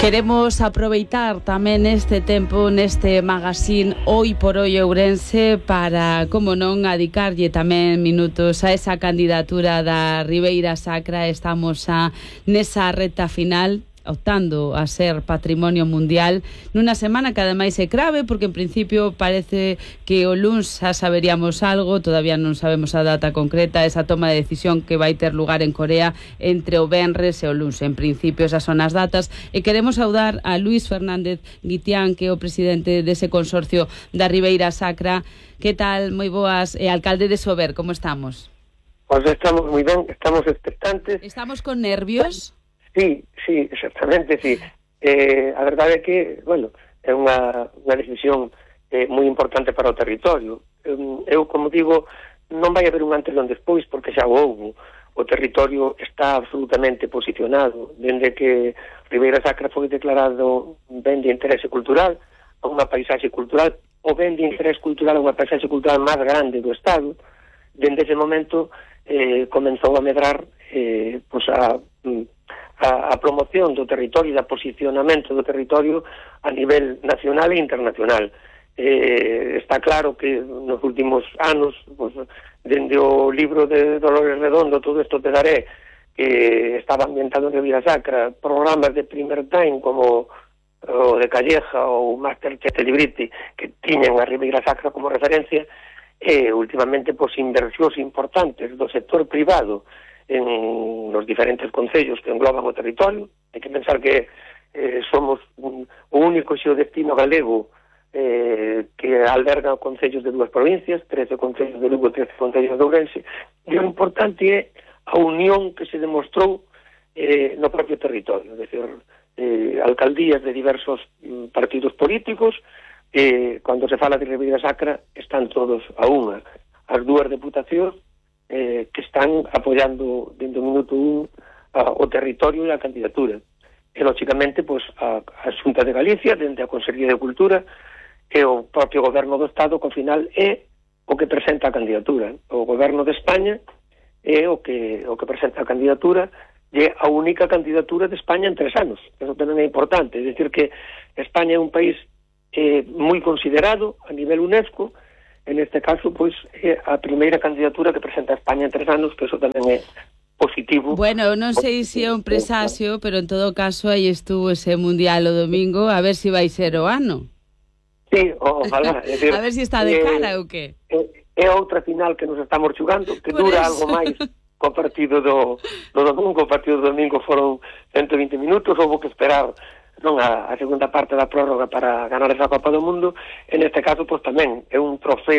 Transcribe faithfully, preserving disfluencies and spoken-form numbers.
Queremos aproveitar tamén este tempo neste magazín Hoy por Hoy Ourense para, como non, adicarlle tamén minutos a esa candidatura da Ribeira Sacra. Estamos a nesa reta final, optando a ser patrimonio mundial nunha semana que ademais é grave porque en principio parece que o luns xa saberíamos algo, todavía non sabemos a data concreta, esa toma de decisión que vai ter lugar en Corea entre o venres e o luns. En principio esas son as datas e queremos saudar a Luís Fernández Guitián, que é o presidente dese consorcio da Ribeira Sacra. Que tal? Moi boas. E alcalde de Sober, como estamos? Pois estamos moi ben, estamos expectantes. Estamos con nervios? Sí, sí, exactamente, sí. Eh, a verdade é que, bueno, é unha, unha decisión eh, moi importante para o territorio. Eu, eu, como digo, non vai haber un antes e un despois, porque xa o houbo. O territorio está absolutamente posicionado. Dende que Ribeira Sacra foi declarado ben de interese cultural, a unha paisaxe cultural, o ben de interese cultural a unha paisaxe cultural máis grande do Estado, dende ese momento eh, comenzou a medrar eh, pues a... A, a promoción do territorio e da posicionamento do territorio a nivel nacional e internacional. Eh, está claro que nos últimos anos, pues, dende o libro de Dolores Redondo, Todo isto te daré, que estaba ambientado en Ribeira Sacra, programas de primer time como o de Calleja ou Masterchef Celebrity, que tiñan a Ribeira Sacra como referencia, e últimamente pues, inversións importantes do sector privado en los diferentes concellos que engloban o territorio. Hai que pensar que eh, somos un, o único xeodestino galego eh, que alberga concellos de dúas provincias, trece concellos de Lugo, trece concellos de Ourense, e o importante é a unión que se demostrou eh, no propio territorio, é dicir, eh, alcaldías de diversos mm, partidos políticos, eh, cando se fala de Ribeira Sacra están todos a unha. As dúas deputacións Eh, que están apoiando dentro do minuto un a, o territorio e a candidatura. E, lógicamente, pues, a, a Xunta de Galicia, dentro da Consellería de Cultura, e o propio Goberno do Estado, que ao final é o que presenta a candidatura. O Goberno de España é o que, o que presenta a candidatura, e é a única candidatura de España en tres anos. Eso tamén é importante. É dicir que España é un país eh, moi considerado a nivel UNESCO. En este caso, pois, é a primeira candidatura que presenta a España en tres anos, que eso tamén é positivo. Bueno, non sei se é un presagio, pero en todo caso aí estuvo ese mundial o domingo, a ver se vai ser o ano. Sí, ojalá. É decir, a ver se está de cara ou que? É, é outra final que nos estamos xugando, que Por dura eso. algo máis co partido do, do domingo. O partido do domingo foron ciento vinte minutos, houve que esperar non a, a segunda parte da prórroga para ganar esa Copa do Mundo. En este caso, pois tamén é un trofeo